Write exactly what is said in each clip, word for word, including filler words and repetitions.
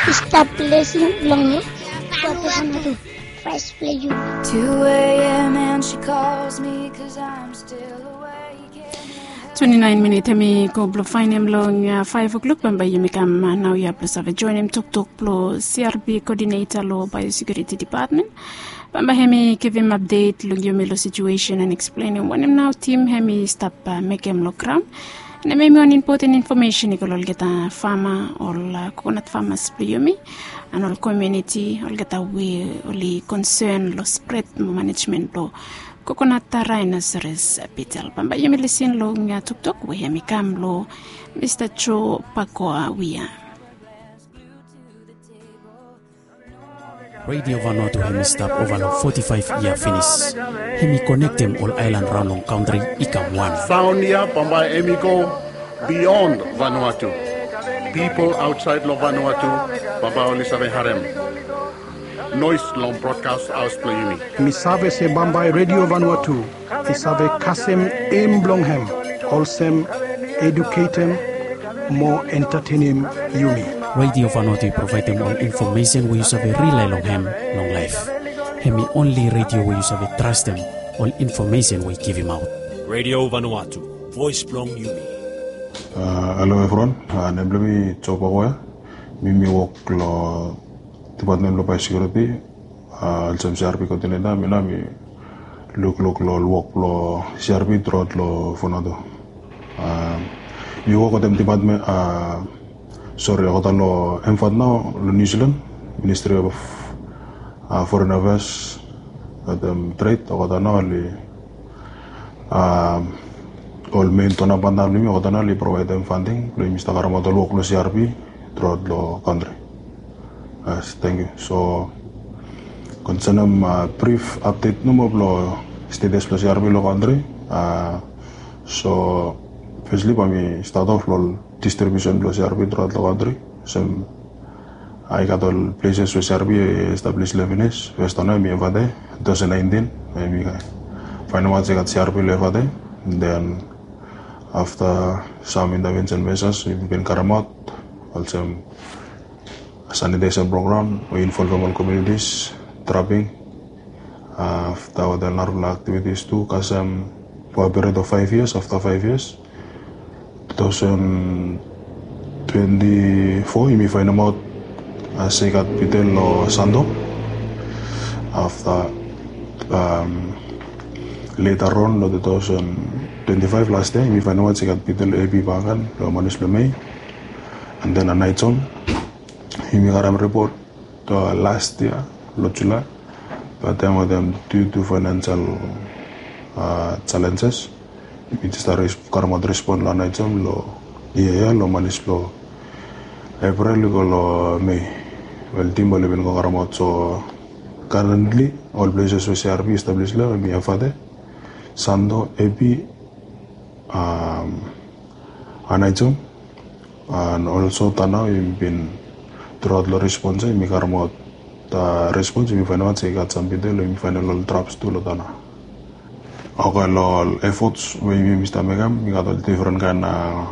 Stap blessing blong yu. Voice blong yu. Two a.m. and she calls me 'cause I'm still awake. Twenty-nine minit hemi go blong faenem long, uh, five o'clock. Bambae yumi kam, uh, naoia blong save joenem toktok blong C R P coordinator long Biosecurity Department. Bambae hemi givim update long yumi long situation and explaenem wanem nao tim hemi stap, uh, mekem long graon. Hemi wan impoten infomesen i go long olgeta fama, ol, uh, kokonat famas blong yumi, and ol komuniti, olgeta we oli konsen long spred mo manejmen blong kokonat rhinoceros beetle. Bambae yumi lisin long, uh, toktok we hemi kam long Mista Joe Pakoa Wia. Radio Vanuatu hemi stap ova long forty-five yia finis. Hemi konektem ol aelan raon long kantri i kam wan. Saon ya bambae hemi go beyond Vanuatu. Pipol aotsaed long Vanuatu bambae oli save harem noes long brodkas haos blong yumi. Mi save se bambae Radio Vanuatu i save kasem em blong hem olsem eduketem mo entatenem yumi. Radio Vanuatu i provaedem ol infomesen we yu save rilae long hem long laef. Hemi onli radio we yu save trastem ol infomesen we i givimaot. Radio Vanuatu, voes blong yumi. Ah, halo evriwan. Ah, nem blong mi Joe Pakoa. Mi mi wok long Department blong Biosecurity, ah, olsem C R P coordinator. Mi nao mi lukluk long ol wok blong C R P truaot long Vanuatu. Ah, mi wok wetem department, ah, sori, olgeta long MFAT nao long New Zealand, Ministry of, ah, Foreign Affairs wetem Trade. Olgeta nao oli, ah, ol mein donor partner blong yumi, olgeta nao oli provaedem funding blong yumi stap karemaot ol wok blong C R P truaot long kantri. Yes, tangkiu. So konsenem, ah, brif apdet nomo blong status blong C R P long kantri. Ah, so fesli bae mi stat of long distribusen blong C R P truaot long kantri. Olsem, ah, i gat ol pleses we C R P i establis long hem finis. Fes wan nao hemi Efate, two thousand nineteen, hemi faenemaot se i gat C R P long Efate. Den afta sam intervensen mesas we yumi bin karemaot, olsem sanitesen program we involvem ol komunitis, traping, afta wetem narafala aktivitis tu, kasem ova period of five years, afta five years, two thousand twenty-four, yumi faenemaot se i gat bitel long Santo. Afta, am, leta on long two thousand twenty-five, las yia, yumi faenemaot se i gat bitel long Epi bakegen long manis blong Mei. And then Anaijom, yumi karem ripot, uh, las yia long Julae. Bat taem wetem due to financial, uh, challenges, yumi jes stap res-, karemaot respon long Anaijom long yia ya long manis blong Eprel i go long Mei. Wel, tim oli bin go karemaot. So currently ol pleses we C R P i establis long hem hemi Efate, Santo, Epi, am, Anaijom. And also, taem nao yumi bin truaot long respons ya, yumi karemaot, uh, respons, yumi faenemaot se i gat sam bitel, yumi faenemaot ol traps tu long taem nao. Oke, long ol efots we yumi stap mekem, i gat ol difren kaen, uh,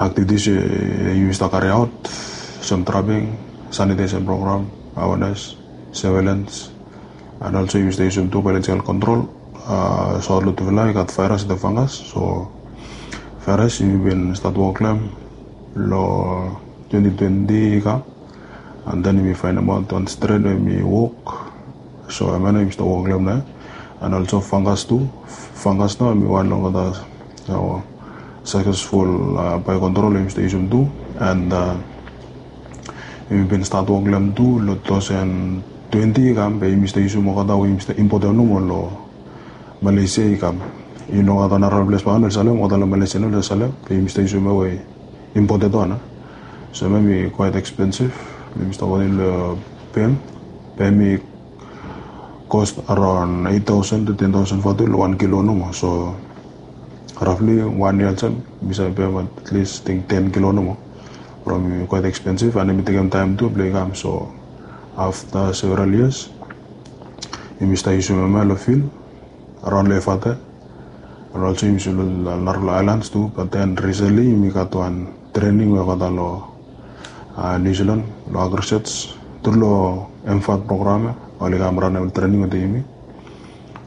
aktivitis we yumi stap kariaot, olsem traping, sanitesen program, awenes, surveilens, and also yumi stap yusum tu biological kontrol. Uh, so long tufala i gat vaeras wetem fangas. So vaeras yumi bin stat wok long hem long twenty twenty i kam. And then yumi faenemaot wan stren we hemi wok. So hemia nao yumi stap wok long hem nao. And also fangas tu. Fangas nao hemi wan long olgeta, uh, successful, uh, biocontrol we yumi stap yusum tu. And, uh, yumi bin stat wok long hem tu long two thousand twenty i kam, be yumi stap yusum olgeta we yumi stap impotem nomo long Malaysia i kam. I no gat wan narafala ples bakegen we oli salem, olgeta long Malaysia nao oli salem, be yumi stap yusum hemia we impoted wan. So hemia hemi quite expensive. Yumi stap kontem long bank, be hemi cost around eight thousand to ten thousand vatu long wan kilo nomo. So roughly wan yia olsem, yumi save peim at least, I think, ten kilo nomo. From hemi quite expensive, and hemi tekem taem tu blong i kam. So afta several years, yumi stap yusum hemia long field around long Efate, and also yumi yusum long narafala aelans tu. But then recently yumi gat wan trening we olgeta long New Zealand lo agrisearch tru lo MFAT program ya, oli kam ranem trening wetem yumi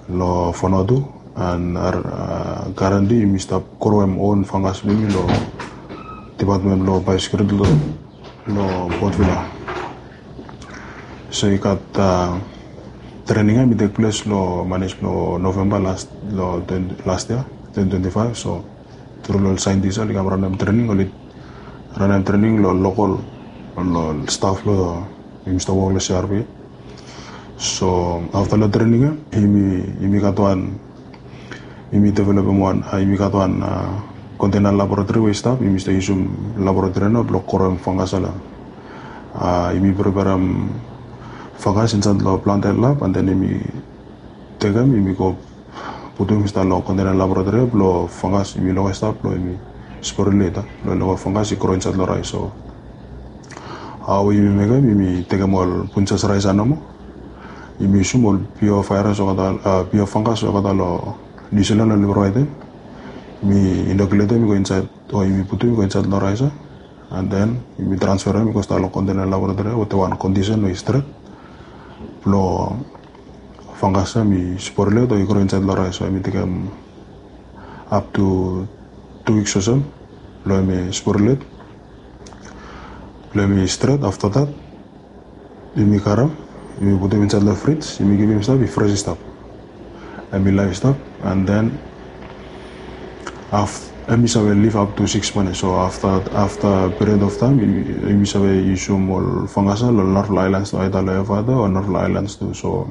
lo Vanuatu. And currently yumi stap growem own fungus blong yumi lo department lo biosecurity lo Port Vila. So i gat trening ya mi tek ples lo manis lo November last lo last year, twenty twenty-five. So tru lo ol scientist oli kam ranem trening, oli ranem trening lo local lo staff lo yumi stap wok lo CRP. So afta lo trening ya yumi gat wan, yumi developem wan, yumi gat wan container laboratory we i stap, yumi stap yusum laboratory ya nao blo growem fungus ya. Yumi preparem fungus insaed lo planted lab, and then yumi tekem, yumi go putum insaed lo container laboratory blo fungus yumi lukaot stap blo yumi sporulate blo fungus i grow insaed lo rice. So hao yumi mekem, yumi tekem ol punjas rice ya nomo, yumi yusum ol pure virus olgeta, pure fungus olgeta lo New Zealand oli provaedem. Yumi inokuletem i go insaed, o yumi putum i go insaed lo rice ya, and then yumi transferem i go stap lo container laboratory wetem wan kondisen we i stret blo fungus ya mi sporulate o i grow insaed lo rice. So yumi tekem up to two weeks olsem blo yumi sporulate blo yumi stret. Afta dat yumi karem, yumi putum insaed lo fridge, yumi givim stap i fresh stap, hemi live stap. And then hemi save live up to six months. So afta period of time yumi save yusum ol fungus ya lo narafala islands tu, aeda lo Evaea o narafala islands tu. So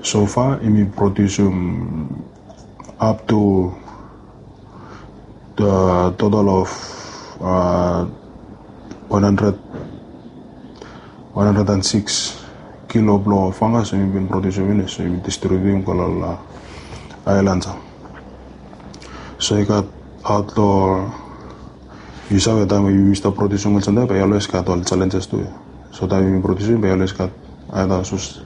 so far yumi produsum up to total of one hundred, one hundred and six kilo blo fungus yumi bin produsum finis, so yumi distributem go lo ol islands ya. So i gat aot lo, yu save, taem we yumi stap produsum olsem ya bae i always gat ol challenges tu. So taem yumi produsum bae i always gat aeda sus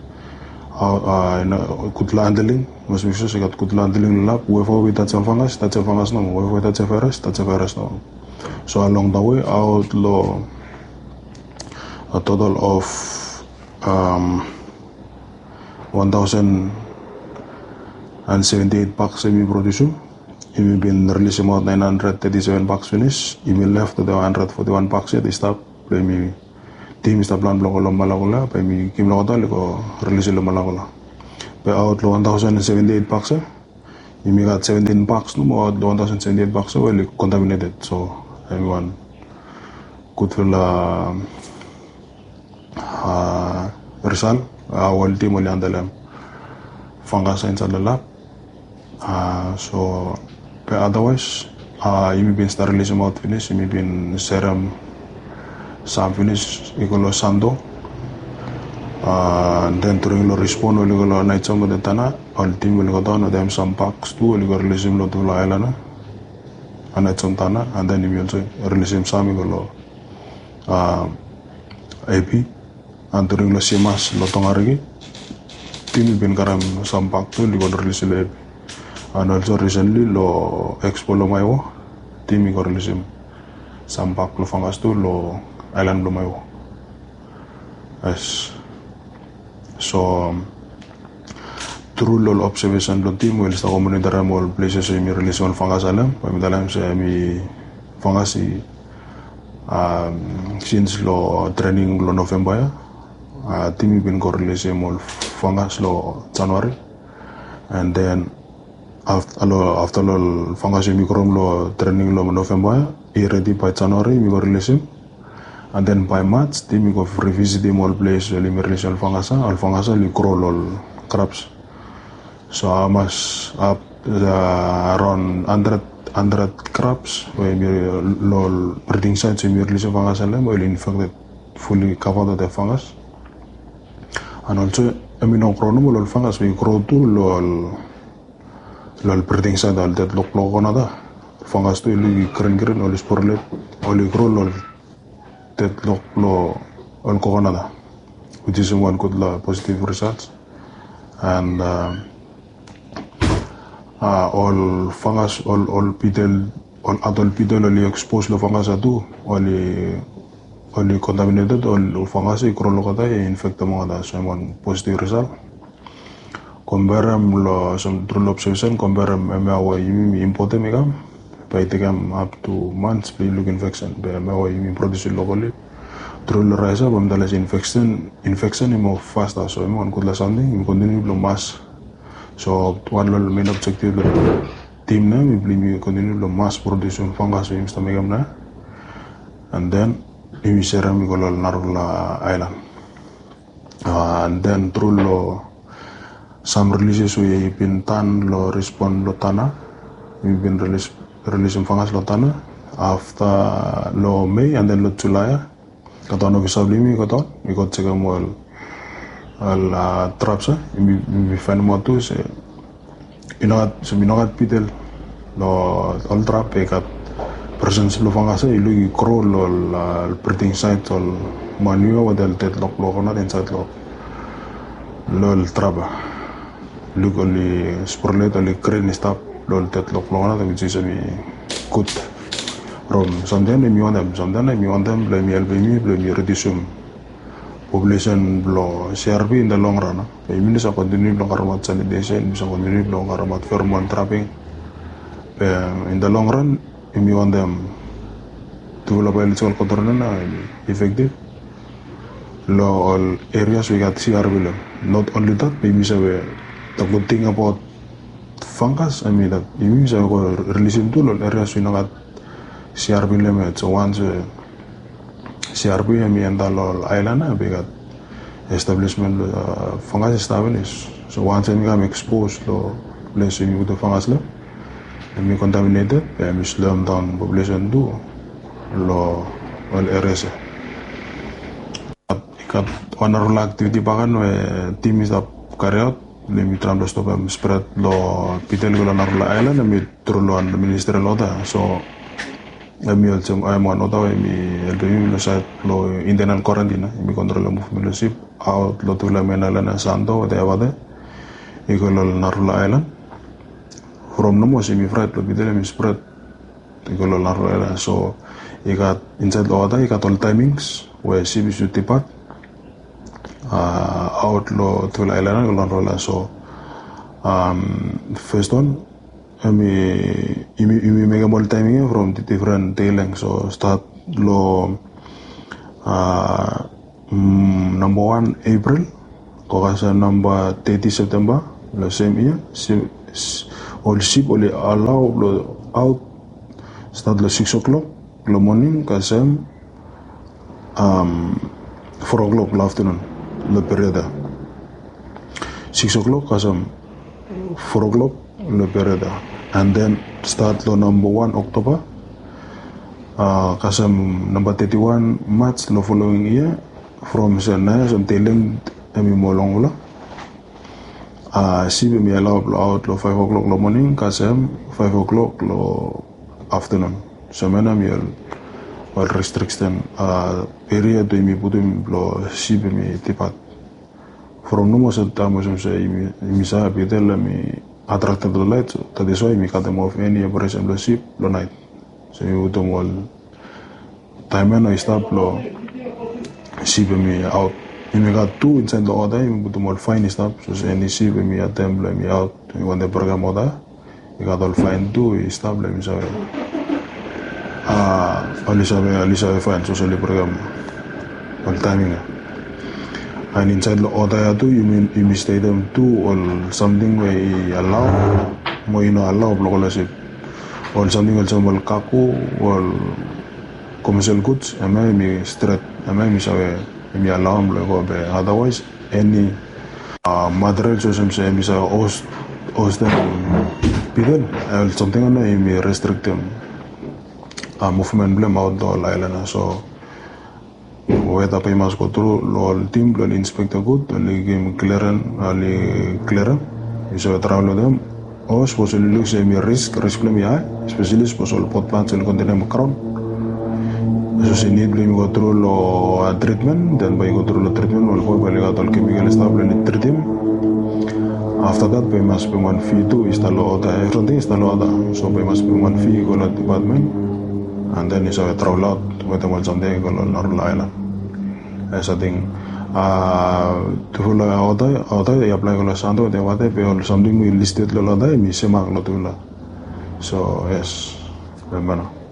gudfala handling, mas mek sua se i gat gudfala handling lo lab. Whoever we tajem fungus, tajem fungus nomo. Whoever we tajem virus, tajem virus nomo. So along the way, aot lo a total of one thousand and seventy-eight packs yumi produsum, yumi bin rilisim aot nine hundred thirty-seven packs finis. Yumi left wetem one hundred forty-one packs yet i stap. Blo yumi, tim i stap plan blo go lo Malakula, bae yumi givim lo olgeta oli go rilisim lo Malakula. Be aot lo one thousand seventy-eight packs ya, yumi gat seventeen packs nomo aot lo one thousand seventy-eight packs ya we oli contaminated. So hemi wan gudfala result hao ol tim oli handelem fungus ya insaed lo lab. So be otherwise yumi bin stap rilisim aot finis, yumi bin serem sam finis i go lo Santo. And then during lo respond oli go lo Anaitsom wetem Tanna, ol tim oli go daon wetem sam packs tu oli go rilisim lo tufala aelan ya, Anaitsom, Tanna, and then yumi also rilisim sam i go lo Epi. And during lo Simas lo Tongariki, tim i bin karem sam pack tu oli go rilisim lo Epi. And also recently lo Expo lo Maewo, tim i go rilisim sam pack blo fungus tu lo aelan blo Maewo. Yes. So tru lo ol observation blo tim we oli stap go monitorem ol places we yumi rilisim ol fungus ya lo hem, bae mi talem se hemi fungus i sins lo trening lo November ya, tim i bin go rilisim ol fungus lo January. And then afta lo ol fungus yumi growem lo trening lo November ya, i redi bae January yumi go rilisim. And then bae March tim i go revisitim ol ples we oli rilisim ol fungus ya, ol fungus ya oli grow lo ol crops. So hamas, around hundred, hundred crops we yumi, lo ol breeding sites we yumi rilisim fungus ya lo hem, we oli infected, fully covered wetem fungus. And also hemi no grow nomo lo ol fungus, we i grow tu lo ol breeding site, ol deadlock blo coconut ya. Fungus tu i luk i grin grin, oli sporulate, oli grow lo ol deadlock blo ol coconut ya, which is wan gudfala positive result. And ol fungus, ol beetle ol adult pitel oli expose long fungus ia tu, oli oli contaminated, ol fungus i grow long olgeta, i infectem olgeta. So hemi wan positive result. Compareem long, so tru long observation, compareem hemia we yumi importem i kam, bae i tekem up to months blong i luk infection. Be hemia we yumi produce locally, tru long rise up, hemi talem se infection, infection i moa faster. So hemi wan gudfala samting, yumi continue blong mask. So wan long main objective blong team na hemi blong yumi continue blong mask produce fungus we yumi stap mekem na. And then yumi serem i go long narafala aelan. And then tru long sam releases we i bin tan long respon long Tanna, yumi bin release, releasim fungus long Tanna afta long Mei and then long Julae ia. Gat wan ofisa blong yumi i go daon, i go jekem ol, ol traps ia. Yumi faenemaot tu se i no gat, se i no gat pitel long ol trap. I gat presence blong fungus ia, i luk i grow long ol breeding site, ol manure wetem ol dead log blong kokonat insaed long ol trap ia. Luk oli sporulate, oli green i stap long ol dead log blong kokonat, which is hemi gud. From samtaem hemi wantem, samtaem hemi wantem blong hemi helpem yumi blong yumi reducem population blong C R P in the long run. Be yumi save continue blong karemaot sanitation, yumi save continue blong karemaot pheromone trapping. Be in the long run, yumi wantem tufala biological control ia na hemi effective long ol areas we i gat C R P long hem. Not only that, be yumi save, the good thing about fungus, I mean that yumi save go releasim tu long ol areas we i no gat C R P long hem yet. So once we C R P hemi enta long ol aelan ia, be i gat establishment blong fungus i stap finis. So once hemi kam expose long ples we yumi putum fungus long hem, hemi contaminated, be hemi sloem daon population tu long ol areas ia. I gat wan narafala activity bakegen we team i stap carry out, blong yumi traem blong stopem spread blong pitel i go long narafala aelan, hemi tru long wan ministerial order. So hemi olsem, hemi wan order we hemi helpem yumi long saed blong internal quarantine ia. Hemi kontrolem movement blong sip aot long tufala main aelan ia, Santo wetem Ebate, i go long narafala aelan. From nomo se hemi fraet blong pitel hemi spread i go long narafala aelan ia. So i gat insaed long order, i gat ol timings we sip i should depart aot long tufala aelan ia i go long narafala aelan ia. So first wan, hemi, yumi mekem ol timing ia from different day length. So start long namba wan April go kasem namba teti September long sem yia. Ol sip oli allow blong aot, start long six o'clock long moning kasem four o'clock long afternoon long period ia. Six o'clock kasem four o'clock long period ia. And then start long namba wan October kasem namba teti wan March long following year, from se naoia olsem day length hemi moa longfala. Sip hemi allow blong aot long five o'clock long moning kasem five o'clock long afternoon. So hemia nao hemi ol restriction period we yumi putum blong sip hemi depart. From nomo se taem olsem se yumi save pitel hemi attracted long light, so that is why yumi katem off eni operation blong sip long naet. So yumi putum ol taem ia nao i stap long sip hemi aot. Yumi gat tu insaed long order, yumi putum ol faen i stap, sapos eni sip hemi atem blong hemi aot, yumi wantem brekem order, i gat ol faen tu i stap long hem i save, oli save, oli save faen sapos oli brekem ol taeming ia. And insaed long order ia tu yumi, yumi stetem tu ol samting we i allow mo i no allow blong go long sip. Ol samting olsem ol cargo, ol commercial goods, hemia hemi stret, hemia hemi save, hemi allow blong i go, be otherwise eni materials olsem se hemi save host, hostem pitel, ol samting ia nao yumi restrictem movement blong hem aot long ol aelan ia. So weta bae i mas go tru long ol tim blong oli inspect gud, oli givim clearance, oli clearem. Yu save travel wetem. O sapos oli luk se hemi risk, risk blong hem i hae, especially sapos ol pot plants oli containem graon. Sapos i nid blong yumi go tru long treatment, then bae i go tru long treatment, ol bae oli gat ol chemical i stap blong oli tritim. Afta dat be i mas bring wan fi tu i stap long oda, evriting i stap long oda. So be i mas bring wan fi i go long dipatmen, and then i save travel aut wetem ol samting i go long narol ailan. Yes, ating tufala oda oda i aplai go long sando wetem wate be ol samting we i listed long oda i mi semak long tufala. So yes, remember no.